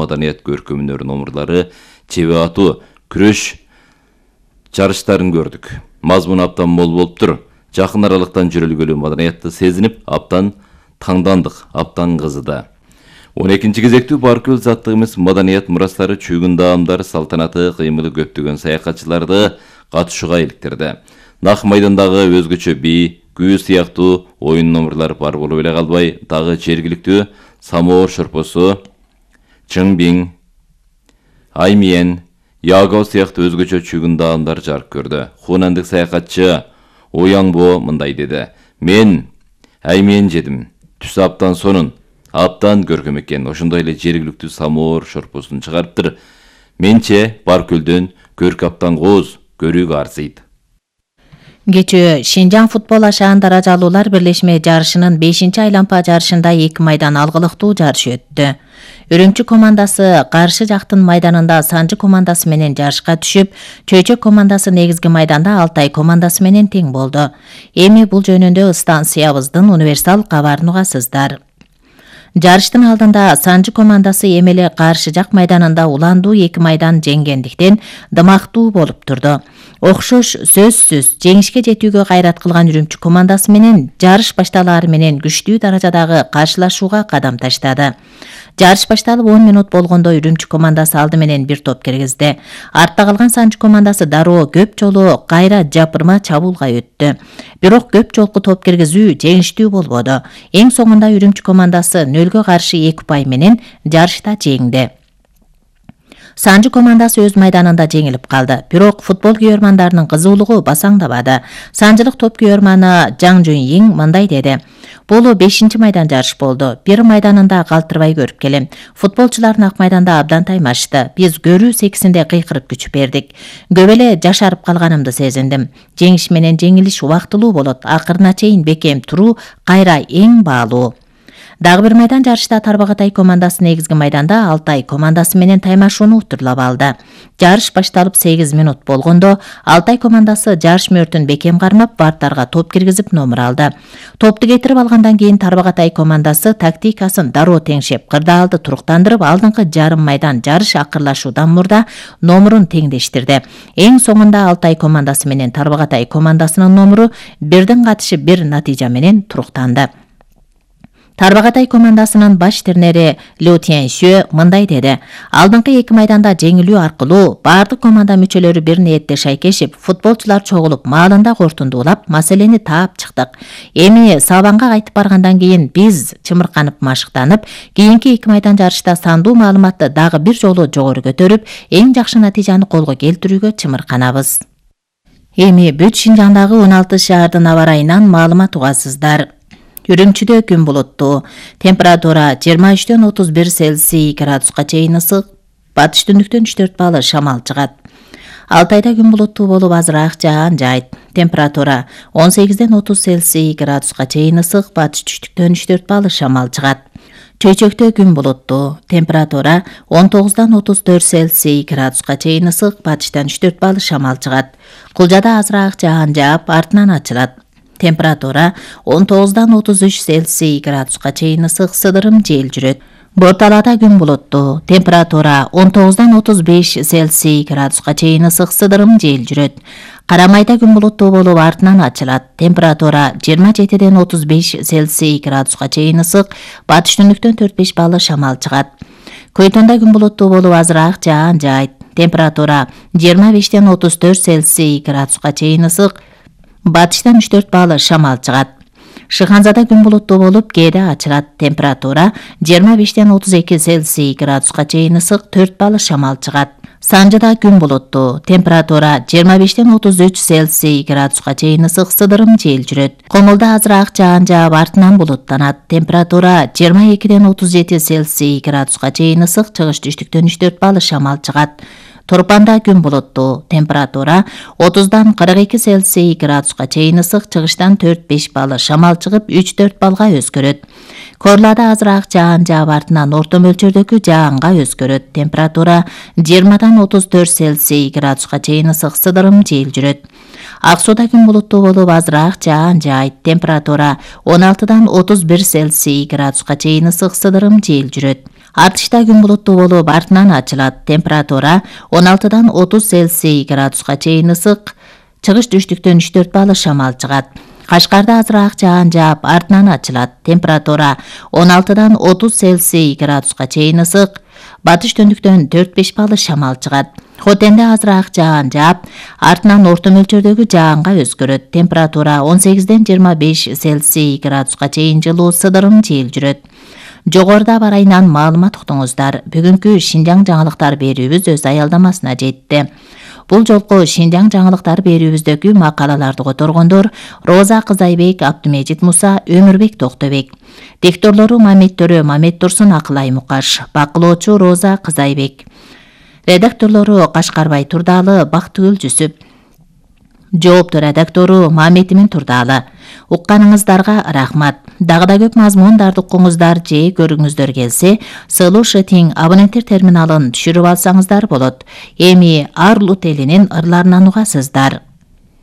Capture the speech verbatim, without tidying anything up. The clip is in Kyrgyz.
маданият көркөмүнөр номурлары чебе атуу күрөш жарыштарын көрдүк. Мазмун абдан мол болуптур. Жакын аралыктан жүрөлгөлүү маданиятты сезинип, абдан таңдандык, абдан кызыды. он экинчи кезектүү Баркөл заттыгыбыз маданият мурастары чүйгүн даамдар салтанаты кыймылы көптөгөн саякатчыларды катышууга иликтирди. Нак майдандагы өзгөчө би, күү сыяктуу оюн номурлар бар болуп эле калбай, дагы жергиликтүү самоо шорпосу, чыңбиң, аймиен, яго сыяктуу өзгөчө чүйгүн даамдар жарык көрдү. Хунандык саякатчы Ояңбо мындай деди: "Мен аймиен жедим. Түс абдан сонун, абдан көркөм экен. Ошондой эле жергиликтүү самоор шорпосун чыгарыптыр. Менче Баркөлдөн көркү абдан кооз, көрүүгө арзыйт." Кечээ Шинжаң футбол ашаан даражалуулар бирлешме жарышынын бешинчи айлампа жарышында эки майдан алгылыктуу жарыш өттү. Үрүмчү командасы каршы жактын майданында Санжы командасы менен жарышка түшүп, Чөйчөк командасы негизги майданда Алтай командасы менен тең болду. Эми бул жөнүндө станциябыздын универсал кабарын угасыздар. Жарыштын алдында Санжы командасы эмеле каршы жак майданында уландуу эки майдан жеңгендиктен дымактуу болуп турду. Окшош сөзсүз жеңишке жетүүгө кайрат кылган Үрүмчү командасы менен жарыш башталаары менен күчтүү даражадагы каршылашууга кадам таштады. Жарыш башталып он минут болгондо Үрүмчү командасы алды менен бир топ киргизди. Артта калган Санжы командасы дароо көп жолу кайра жапырма чабуулга өттү. Бирок көп жолку топ киргизүү жеңиштүү болбоду. Эң соңунда Үрүмчү командасы нөлгө каршы эки упай менен жарышта жеңди. Санжы командасы өз майданында жеңилип калды. Бирок футбол күйөрмандарынын кызуулугу басаңдабады. Санжылык топ күйөрманы Жаң Жунйиң мындай деди: "Бул бешинчи майдан жарыш болду. Бир майданында калтырбай көрүп келем. Футболчулар ак майданда абдан таймашты. Биз көрүү секисинде кыйкырып күч бердик. Көп эле жашарып калганымды сезиндим. Жеңиш менен жеңилиш убактылуу болот. Акырына чейин бекем туруу кайра эң баалуу." Дагы бир майдан жарышта Тарбагатай командасы негизги майданда Алтай командасы менен таймашууну утурлап алды. Жарыш башталып сегиз минут болгондо Алтай командасы жарыш мөөртүн бекем кармап, барттарга топ киргизип номур алды. Топту кетирип алгандан кийин Тарбагатай командасы тактикасын дароо теңшеп, кырдаалды туруктандырып, алдыңкы жарым майдан жарыш акырлашуудан мурда номурун теңдештирди. Эң соңунда Алтай командасы менен Тарбагатай командасынын номуру бирдин катышы бир натыйжа менен туруктанды. Тарбагатай командасынын баш тренери Лю Тяньшө мындай деди: "Алдыңкы эки майданда жеңилүү аркылуу бардык команда мүчөлөрү бир ниетте шайкешип, футболчулар чогулуп, маалында кортундуулап, маселени таап чыктык. Эми Сабанга кайтып баргандан кийин биз чымырканып, машыктанып, кийинки эки майдан жарышта сандуу маалыматты дагы бир жолу жогору көтөрүп, эң жакшы натыйжаны колго келтирүүгө чымырканабыз." Эми бүт Шинжаңдагы он алты шаардын аба ырайынан маалымат угасыздар. Үрүмчүдө күн булуттуу. Температура жыйырма үчтөн отуз бир Цельсий градуска чейин ысык. Батыш түндүктөн үч төрт балл шамал чыгат. Алтайда күн булуттуу болуп азыраак жаан жайт. Температура он сегизден отуз Цельсий градуска чейин ысык. Батыш түштүктөн үч төрт балл шамал чыгат. Чөйчөктө күн булуттуу. Температура он тогуздан отуз төрт Цельсий градуска чейин ысык. Батыштан үч төрт балл шамал чыгат. Кулжада азыраак жаан жаап, артынан ачылат. Температура он тогуздан отуз үч Цельсий градуска чейин ысык, сыдырым жел жүрөт. Борталада күн булуттуу. Температура он тогуздан отуз беш Цельсий градуска чейин ысык, сыдырым жел жүрөт. Карамайда күн булуттуу болуп, артынан ачылат. Температура жыйырма жетиден отуз беш Цельсий градуска чейин ысык, батыш түндүктөн төрт беш балл шамал чыгат. Көйтөндө күн булуттуу болуп, азыраак жаан жайт. Температура жыйырма бештен отуз төрт Цельсий градуска чейин ысык, батыштан үч төрт балл шамал чыгат. Шыханзада күн булуттуу болуп, кээде ачылат. Температура жыйырма бештен отуз эки Цельсий градуска чейин ысык, төрт балл шамал чыгат. Санжыда күн булуттуу. Температура жыйырма бештен отуз үч Цельсий градуска чейин ысык, сыдырым жел жүрөт. Комулда азыраак жаан жаап, артынан булуттанат. Температура жыйырма экиден отуз жети Цельсий градуска чейин ысык, чыгыш түштүктөн үч төрт балл шамал чыгат. Торпанда күн булуттуу. Температура отуздан кырк эки Цельсий градуска чейин ысык, чыгыштан төрт беш балл шамал чыгып, үч төрт баллга өзгөрөт. Корлада азыраак жаан жаап, артынан орто мөлчөрдөгү жаанга өзгөрөт. Температура жыйырмадан отуз төрт Цельсий градуска чейин ысык, сыдырым жел жүрөт. Ак Сууда күн булуттуу болуп азыраак жаан жаайт. Температура он алтыдан отуз бир Цельсий градуска чейин ысык сыдырым жел жүрөт. Артышта күн булуттуу болуп артынан ачылат. Температура он алтыдан отуз Цельсий градуска чейин ысык. Чыгыш түштүктөн үч төрт балл шамал чыгат. Кашкарда азыраак жаан жаап артынан ачылат. Температура он алтыдан отуз Цельсий градуска чейин ысык. Батыш төндүктөн төрт беш балл шамал чыгат. Хотенде азыраак жаан жаап артынан орто мөлчөрдөгү жаанга өзгөрөт. Температура он сегизден жыйырма беш Цельсий градуска чейин жылуу сыдырым жел жүрөт. Жогоруда бар айынан маалымат уктуңуздар. Бүгүнкү Шинжаң жаңылыктар берүүбүз өз аялдамасына жетти. Бул жолку Шинжаң жаңылыктар берүүбүздөгү макалаларды которгондор Роза Кызайбек, Абдымежит Муса, Өмүрбек Токтобек. Дикторлору Мамет Төрө, Мамет Турсун, Акылай Мукаш. Бакылоочу Роза Кызайбек. Редакторлору Кашкарбай Турдалы, Бактыгүл Жүсүп. Жоопту редактору Маметимин Турдалы. Укканыңыздарга рахмат. Дагы да көп мазмундарды укуңуздар же көрүңүздөр келсе, Сылуу Шытиң абоненттер терминалын түшүрүп алсаңыздар болот. Эми Арлут элинин ырларынан угасыздар.